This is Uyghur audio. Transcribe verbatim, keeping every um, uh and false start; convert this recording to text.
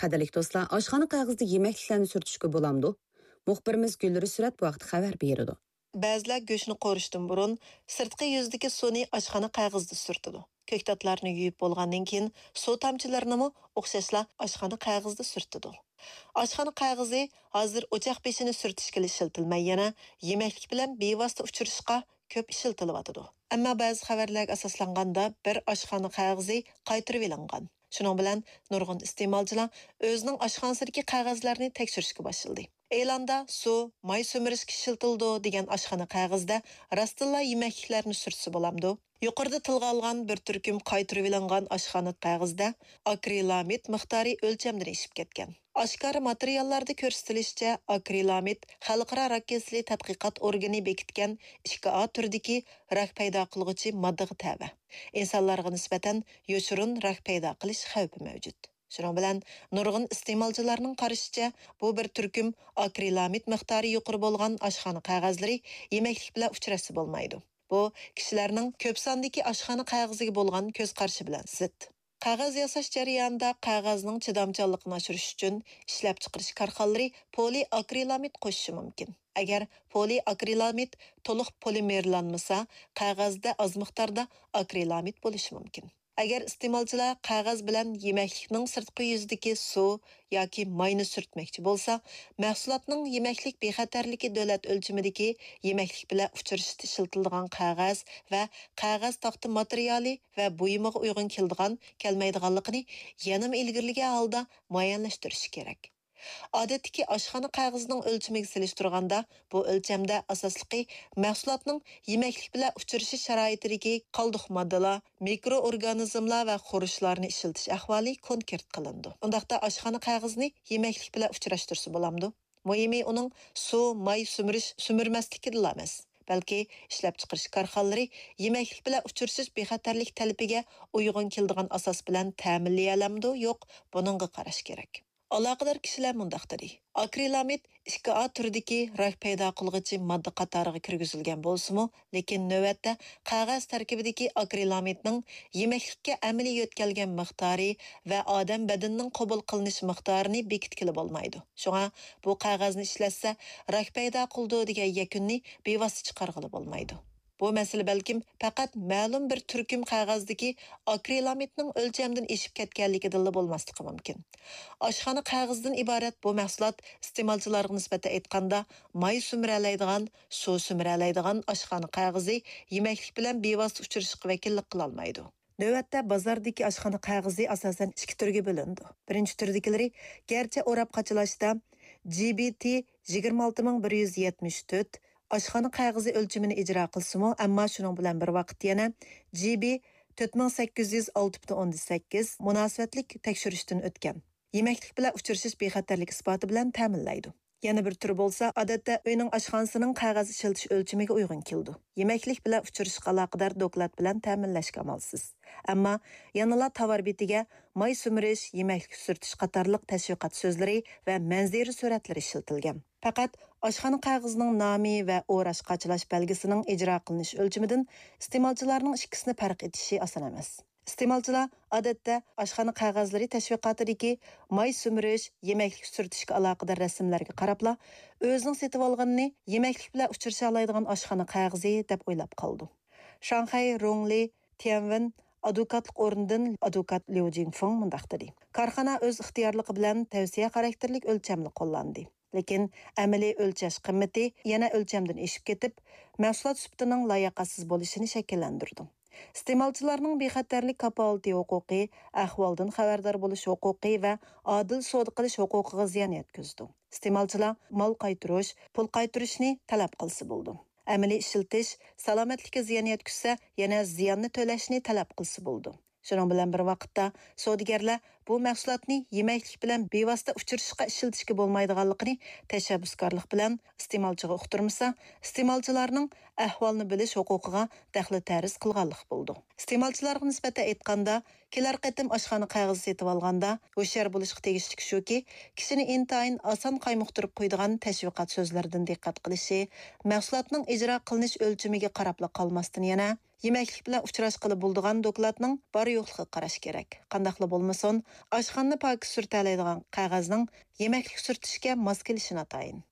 قەدىرلىك دوستلار، ئاشخانا قەغىزىدە يېمەكلىكلەرنى سۈرتۈشكە بولامدۇ؟ مۇخبىرىمىز گۈلرى سۈرەت بۇ ھەقتە خەۋەر بېرىدۇ. بەزىلەر گۆشنى قورۇشتىن بۇرۇن سىرتقى يۈزدىكى سۇنى ئاشخانا قەغىزىدە سۈرتىدۇ. كۆكتاتلارنى يۇيۇپ بولغاندىن كېيىن سۇ تامچىلىرىنىمۇ ئوخشاشلا ئاشخانا قەغىزىدە سۈرتىدۇ. ئاشخانا قەغىزى ھازىر ئوچاق بېشىنى سۈرتۈشكىلا ئىشلىتىلمەي، يەنە يېمەكلىك بىلەن بىۋاسىتە ئۇچرىشىشقا كۆپ ئىشلىتىلىۋاتىدۇ. ئەمما بەزى خەۋەرلەرگە ئاساسلانغاندا، بىر ئاشخانا قەغىزى قايتۇرۇۋېلىنغان. شۇنىڭ بىلەن نۇرغۇن ئىستېمالچىلار ئۆزىنىڭ ئاشخانىسىدىكى قەغەزلەرنى تەكشۈرۈشكە باشلىدى. ئېلاندا سۇ، ماي سۈمۈرۈشكە ئىشلىتىلىدۇ دېگەن ئاشخانا قەغىزىدە راستتىنلا يېمەكلىكلەرنى سۈرتسە بولامدۇ؟ يۇقىرىدا تىلغا ئالغان بىر تۈركۈم قايتۇرۇۋېلىنغان ئاشخانا قەغىزىدە ئاكرىلامىد مىقدارى ئۆلچەمدىن ئېشىپ كەتكەن. ئاشكارا ماتېرىياللاردا كۆرسىتىلىشىچە، ئاكرىلامىد خەلقئارا راك كېسىلى تەتقىقات ئورگىنى بېكىتكەن ئىككى ئا تۈرىدىكى راك پەيدا قىلغۇچى ماددىغا تەۋە. ئىنسانلارغا نىسبەتەن يوشۇرۇن راك پەيدا قىلىش خەۋپى مەۋجۇت. شۇنىڭ بىلەن نۇرغۇن ئىستېمالچىلارنىڭ قارىشىچە، بۇ بىر تۈركۈم ئاكرىلامىد مىقدارى يۇقىرى بولغان ئاشخانا قەغەزلىرى يېمەكلىك بىلەن ئۇچراشسا بولمايدۇ. بۇ كىشىلەرنىڭ كۆپ ساندىكى ئاشخانا قەغىزىگە بولغان كۆز قارىشى بىلەن زىت. قەغەز ياساش جەريانىدا قەغەزنىڭ چىدامچانلىقىنى ئاشۇرۇش ئۈچۈن ئىشلەپچىقىرىش كارخانىلىرى پولىئاكرىلامىد قوشۇشى مۇمكىن. ئەگەر پولىئاكرىلامىد تولۇق پولىمېرلانمىسا، قەغەزدە ئاز مىقداردا ئاكرىلامىد بولۇشى مۇمكىن. ئەگەر ئىستېمالچىلار قەغەز بىلەن يېمەكلىكنىڭ سىرتقى يۈزىدىكى سۇ ياكى ماينى سۈرتمەكچى بولسا، مەھسۇلاتنىڭ يېمەكلىك بىخەتەرلىكى دۆلەت ئۆلچىمىدىكى يېمەكلىك بىلەن ئۇچرىشىشتا ئىشلىتىلىدىغان قەغەز ۋە قەغەز تاختا ماتېرىيالى ۋە بۇيۇمىغا ئۇيغۇن كېلىدىغان، كەلمەيدىغانلىقىنى يەنىمۇ ئىلگىرىلىگەن ھالدا مۇئەييەنلەشتۈرۈشى كېرەك. ئادەتتىكى ئاشخانا قەغىزىنىڭ ئۆلچىمىگە سېلىشتۇرغاندا، بۇ ئۆلچەمدە ئاساسلىقى مەھسۇلاتنىڭ يېمەكلىك بىلەن ئۇچرىشىش شارائىتىدىكى قالدۇق ماددىلار، مىكرو ئورگانىزملار ۋە خۇرۇچلارنى ئىشلىتىش ئەھۋالى كونكرېت قىلىنىدۇ. ئۇنداقتا ئاشخانا قەغىزىنى يېمەكلىك بىلەن ئۇچراشتۇرسا بولامدۇ؟ مۇھىمى ئۇنىڭ سۇ، ماي سۈمۈرۈش، سۈمۈرمەسلىكىدىلا ئەمەس، بەلكى ئىشلەپچىقىرىش كارخانىلىرى يېمەكلىك بىلەن ئۇچرىشىش بىخەتەرلىك تەلىپىگە ئۇيغۇن كېلىدىغان ئاساس بىلەن تەمىنلىيەلەمدۇ، يوق، بۇنىڭغا قاراش كېرەك. ئالاقىدار كىشىلەر مۇنداق دېدى: ئاكرىلامىد ئىككى ئا تۈرىدىكى راك پەيدا قىلغۇچى ماددا قاتارىغا كىرگۈزۈلگەن بولسىمۇ، لېكىن نۆۋەتتە قەغەز تەركىبىدىكى ئاكرىلامىدنىڭ يېمەكلىككە ئەمەلىي يۆتكەلگەن مىقدارى ۋە ئادەم بەدىنىنىڭ قوبۇل قىلىنىش مىقدارىنى بېكىتكىلى بولمايدۇ. شۇڭا بۇ قەغەزنى ئىشلەتسە، راك پەيدا قىلىدۇ دېگەن يەكۈننى بىۋاسىتە چىقارغىلى بولمايدۇ. بۇ مەسىلە بەلكىم پەقەت مەلۇم بىر تۈركۈم قەغەزدىكى ئاكرىلامىدنىڭ ئۆلچەمدىن ئېشىپ كەتكەنلىكىدىنلا بولماسلىقى مۇمكىن. ئاشخانا قەغىزىدىن ئىبارەت بۇ مەھسۇلات ئىستېمالچىلارغا نىسبەتەن ئېيتقاندا، ماي سۈمۈرەلەيدىغان، سۇ سۈمۈرەلەيدىغان ئاشخانا قەغىزى يېمەكلىك بىلەن بىۋاسىتە ئۇچرىشىشقا ۋەكىللىك قىلالمايدۇ. نۆۋەتتە بازاردىكى ئاشخانا قەغىزى ئاساسەن ئىككى تۈرگە بۆلۈنىدۇ. بىرىنچى تۈردىكىلىرى گەرچە ئوراپ قاچىلاشتا جى بى تى يىگىرمە ئالتە مىڭ بىر يۈز يەتمىش تۆت ئاشخانا قەغىزى ئۆلچىمىنى ئىجرا قىلسىمۇ، ئەمما شۇنىڭ بىلەن بىر ۋاقىتتا يەنە جى بى تۆت مىڭ سەككىز يۈز ئالتە پۈتۈن ئوندىن سەككىز مۇناسىۋەتلىك تەكشۈرۈشتىن ئۆتكەن. يېمەكلىك بىلەن ئۇچرىشىش بىخەتەرلىك ئىسپاتى بىلەن تەمىنلەيدۇ. يەنە بىر تۈرى بولسا، ئادەتتە ئۆينىڭ ئاشخانىسىنىڭ قەغەز ئىشلىتىش ئۆلچىمىگە ئۇيغۇن كېلىدۇ. يېمەكلىك بىلەن ئۇچرىشىشقا ئالاقىدار دوكلات بىلەن تەمىنلەشكە ئامالسىز. ئەمما يەنىلا تاۋار بېتىگە ماي سۈمۈرۈش، يېمەكلىك سۈرتۈش قاتارلىق تەشۋىقات سۆزلىرى ۋە مەنزىرە سۈرەتلىرى ئىشلىتىلگەن. پەقەت ئاشخانا قەغىزىنىڭ نامى ۋە ئوراش قاچىلاش بەلگىسىنىڭ ئىجرا قىلىنىش ئۆلچىمىدىن ئىستېمالچىلارنىڭ ئىككىسىنى پەرق ئېتىشى ئاسان ئەمەس. ئىستېمالچىلار ئادەتتە ئاشخانا قەغەزلىرى تەشۋىقاتىدىكى ماي سۈمۈرۈش، يېمەكلىك سۈرتۈشكە ئالاقىدار رەسىملەرگە قاراپلا، ئۆزىنىڭ سېتىۋالغىنىنى يېمەكلىك بىلەن ئۇچرىشالايدىغان ئاشخانا قەغىزى دەپ ئويلاپ قالىدۇ. شاڭخەي رۇڭلى تيەنۋېن ئادۋوكاتلىق ئورنىدىن ئادۋوكات ليۇ جىڭفېڭ مۇنداق دېدى: كارخانا ئۆز ئىختىيارلىقى بىلەن تەۋسىيە خاراكتېرلىك ئۆلچەمنى قوللاندى. لېكىن ئەمەلىي ئۆلچەش قىممىتى يەنە ئۆلچەمدىن ئېشىپ كېتىپ، مەھسۇلات سۈپىتىنىڭ لاياقەتسىز بولۇشىنى شەكىللەندۈرىدۇ. ئىستېمالچىلارنىڭ بىخەتەرلىك كاپالىتى ھوقۇقى، ئەھۋالدىن خەۋەردار بولۇش ھوقۇقى ۋە ئادىل سودا قىلىش ھوقۇقىغا زىيان يەتكۈزىدۇ. ئىستېمالچىلار مال قايتۇرۇش، پۇل قايتۇرۇشنى تەلەپ قىلسا بولىدۇ. ئەمەلىي ئىشلىتىش سالامەتلىككە زىيان يەتكۈزسە، يەنە زىياننى تۆلەشنى تەلەپ قىلسا بولىدۇ. شۇنىڭ بىلەن بىر ۋاقىتتا، سودىگەرلەر بۇ مەھسۇلاتنى يېمەكلىك بىلەن بىۋاسىتە ئۇچرىشىشقا ئىشلىتىشكە بولمايدىغانلىقىنى تەشەببۇسكارلىق بىلەن ئىستېمالچىغا ئۇقتۇرمىسا، ئىستېمالچىلارنىڭ ئەھۋالنى بىلىش ھوقۇقىغا دەخلى تەرۇز قىلغانلىق بولىدۇ. ئىستېمالچىلارغا نىسبەتەن ئېيتقاندا، كېلەر قېتىم ئاشخانا قەغىزى سېتىۋالغاندا ھوشيار بولۇشقا تېگىشلىك شۇكى، كىشىنى ئىنتايىن ئاسان قايمۇقتۇرۇپ قويىدىغان تەشۋىقات سۆزلىرىدىن دىققەت قىلىشى، مەھسۇلاتنىڭ ئىجرا قىلىنىش ئۆلچىمىگە قاراپلا قالماستىن، يەنە يېمەكلىك بىلەن ئۇچراشقىلى بولىدىغان دوكلاتنىڭ بار-يوقلۇقىغا قاراش كېرەك. قانداقلا بولمىسۇن، ئاشخانىنى پاكىز سۈرتەلەيدىغان قەغەزنىڭ يېمەكلىك سۈرتۈشكە ماس كېلىشى ناتايىن.